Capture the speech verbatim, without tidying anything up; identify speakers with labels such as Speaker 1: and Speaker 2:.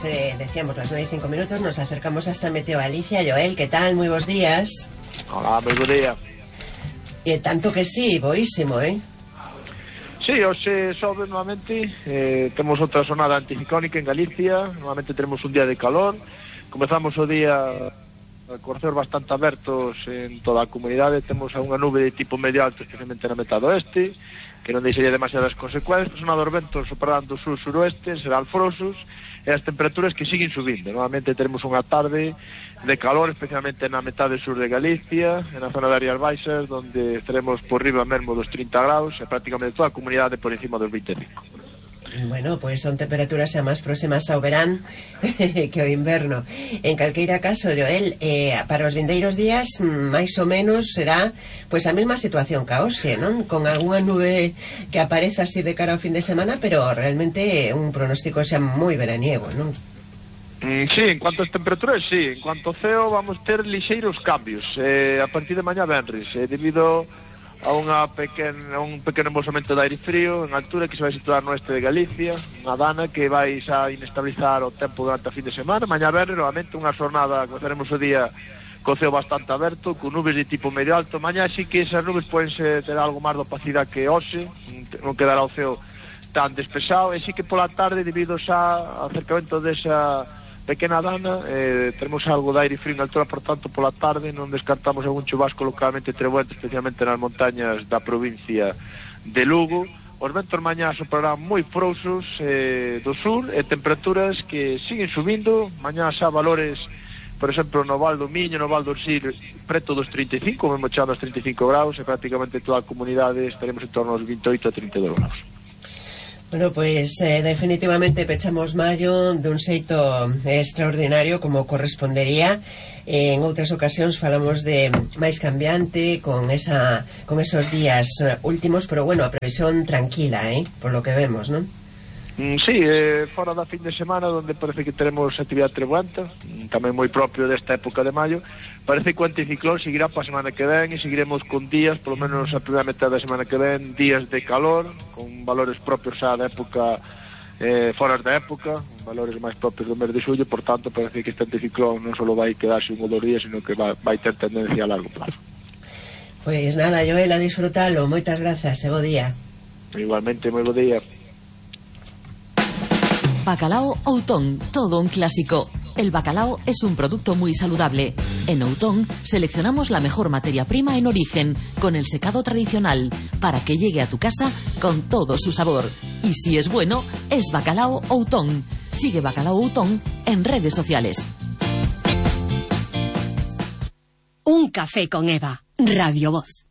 Speaker 1: eh, decíamos las nueve y cinco minutos, nos acercamos hasta Meteo Galicia. Joel, ¿qué tal? Muy buenos días.
Speaker 2: Hola, moi bo día.
Speaker 1: E tanto que sí, boísimo, eh?
Speaker 2: Sí, hoxe sobe nuevamente, eh, temos outra sonada anticiclónica en Galicia, nuevamente tenemos un día de calor, comezamos o día con ceos bastante abertos en toda a comunidade, temos unha nube de tipo medio alto, especialmente na metade oeste, que non deixaría demasiadas consecuencias, son dos ventos soprando do sur-suroeste, será alfrosos, e as temperaturas que siguen subindo. Normalmente teremos unha tarde de calor, especialmente na metade sur de Galicia, en a zona de Áreas Baixas, donde estaremos por riba mesmo dos trinta graus, e prácticamente toda a comunidade por encima dos vinte e cinco.
Speaker 1: Bueno, pues son temperaturas xa máis próximas ao verán que ao inverno. En calqueira caso, Joel, eh, para os vindeiros días, máis ou menos será pues a mesma situación que hoxe, non? Con algunha nube que aparece así de cara ao fin de semana, pero realmente un pronóstico xa moi veraniego, non?
Speaker 2: Mm, sí, en cuanto ás temperaturas, sí. En cuanto ao ceo, vamos ter lixeiros cambios eh, a partir de mañá venres, eh, debido a unha pequena, un pequeno embolsamento de aire frío en altura que se vai situar no oeste de Galicia, unha dana que vai xa inestabilizar o tempo durante a fin de semana. Mañá verde, novamente, unha xornada, comezaremos o día co ceo bastante aberto, con nubes de tipo medio alto. Mañá sí que esas nubes poden ter algo máis de opacidade que hoxe, non quedará o ceo tan despexado, e sí que pola tarde, debido xa ao acercamento desa pequena dana, eh, tenemos algo de aire frío en altura, por tanto, pola tarde non descartamos algún chubasco localmente trebuente, especialmente nas montañas da provincia de Lugo. Os ventos mañá soprarán moi frouxos eh, do sur, e temperaturas que siguen subindo, mañá xa valores, por exemplo, no Val do Miño, no Val do Sil, preto dos trinta e cinco, mesmo chegando aos trinta e cinco graus, e prácticamente toda a comunidade estaremos en torno aos vinte e oito a trinta e dous graus.
Speaker 1: Bueno, pues eh, definitivamente pechamos maio dun xeito extraordinario como correspondería. Eh, en outras ocasións falamos de máis cambiante con esa con esos días últimos, pero bueno, a previsión tranquila, eh, por lo que vemos, non?
Speaker 2: Mm, sí, eh, fora da fin de semana, donde parece que teremos actividade trebuenta, tamén moi propio desta época de maio. Parece que o anticiclón seguirá para a semana que ven, e seguiremos con días, polo menos a primeira metade da semana que ven, días de calor, con valores propios xa da época, eh, foras da época, valores máis propios do mes de xullo. Por tanto, parece que este anticiclón non só vai quedarse un ou dos días, sino que vai, vai ter tendencia a largo plazo.
Speaker 1: Pues nada, Joel, a disfrutalo. Moitas grazas, e bo día.
Speaker 2: Igualmente, moi bo día.
Speaker 3: Bacalao Outón, todo un clásico. El bacalao es un producto muy saludable. En Outón seleccionamos la mejor materia prima en origen, con el secado tradicional, para que llegue a tu casa con todo su sabor. Y si es bueno, es Bacalao Outón. Sigue Bacalao Outón en redes sociales.
Speaker 4: Un café con Eva, Radio Voz.